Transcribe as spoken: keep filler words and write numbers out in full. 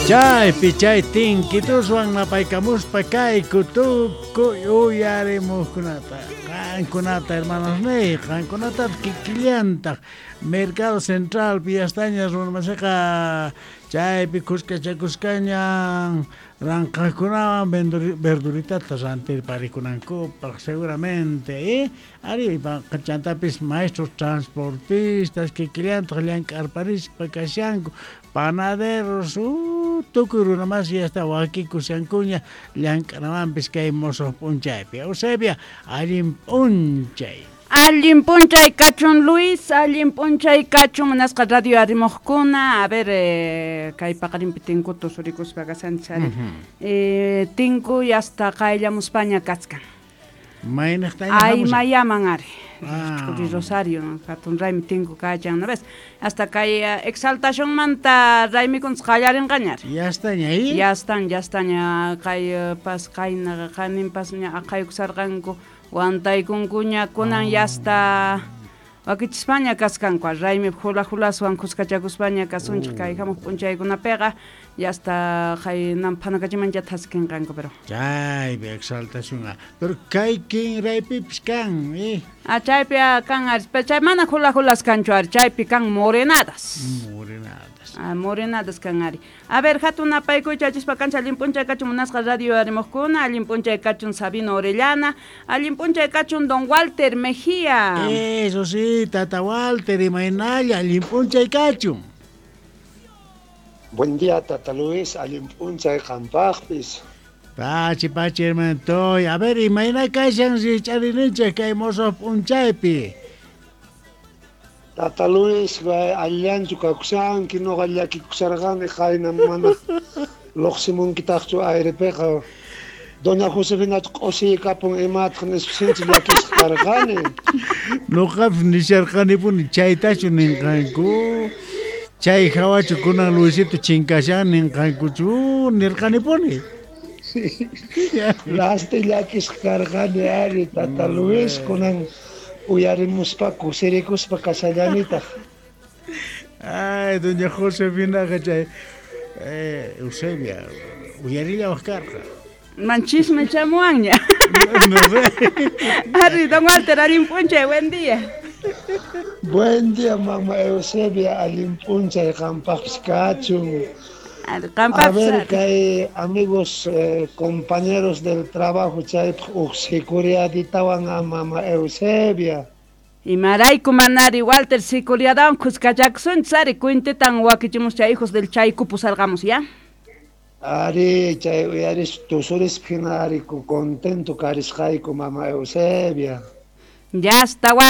Chaypi chay tinkituswan napaykamuspa kayku tukuy uyarimuqkunata qankunata hermanos niy qankunata kikillantaq Mercado Central piyastaña runamasiqa chaypi kuskachakuskaña ranqakunawan verduritata rantirparikunankupaq seguramente eh ari chantapis maestros transportistas kikillantaq llank'arparispa kashanku panaderos uh, tukuy runamas ya está wakikushankuña llank'anawanpis kay mosoq p'unchaypi. Eusebia, allin p'unchay. Allin p'unchay kachun Luis, allin p'unchay kachun munasqa radio arimuqkuna. A ver, eh, kay paqarinpi tinkutu surikuspa kashanchis ari. Eh, tinku yasta qayllamuspaña kachkan. Maynaqtaña Ay mayaman ari. Ah. Rosario, hatun raymi tinku kachan, ¿no ves? Hasta kay uh, exaltacionmanta raymikuntz qallarinqaña ari. Ya estaña ahí. Ya están, ya estaña kay uh, pas qayna qaninpas ña aqhaykusarqanku wantaykunkuña kunan ya está wakichispaña kaskanku raymi hula hulaswan kuskachakuspaña kasunchik kay hamuq p'unchaykunapiqa ya está qaynan phanakachiman ya thaskinqanku pero chaypi exaltación pero kay kinraypipis kan eh ah chaypi kan ari pero chay mana hula hulas kanchu ari chaypi kan morenadas morenadas ah morenadas kan ari. A ver, hatun napaykuy chachispa kancha allin p'unchay kachun munasqa radio arimuqkuna, allin p'unchay kachun Sabino Orellana, allin p'unchay kachun don Walter Mejía. Eso sí, tata Walter, imaynalla, allin p'unchay kachun. Buen día, tata Luis, allin p'unchay qampaqpis. Pachi, pachi, hermanitoy. A ver, imayna kashan rich'arininchik kay mosoq p'unchaypi. Tata Luis, allanchu kakushanki, noqa llakikusharqani qayna mana luqsimunkitaqchu airepiqa. Doña Josefina q'usiykapun imataq nispa sinchi llakisqa karqani. Noqapis nisharqanipuni chaytachu ninqanku. Chay hawachu kunan Luisito chinkashan ninqankuchu nirqanipuni. Lasti llakisqa karqani ari tata Luis kunan uyarimuspa kusirikuspa kashallanitaq. Ay, doña Josefinaqa chay eh, Eusebia uyarillawaq karqa. Manchisme chamuanña. No sé. Ari, don Walter, allin p'unchay, buen día. Buen día, mamá Eusebia, allin p'unchay qampaqpis kachun. A ver, kay amigos, eh, compañeros del trabajo, chaypaq uj sicuriaditawan a mama Eusebia. Imarayku manari Walter sicuriadawan kuskachakusunchis ari cuentetan wakichimus chay hijos del chayku pusarqamus, ya? Ari, chay uyaris tusurispa hina ari contento karisqayku mama Eusebia. Ya está, Walter.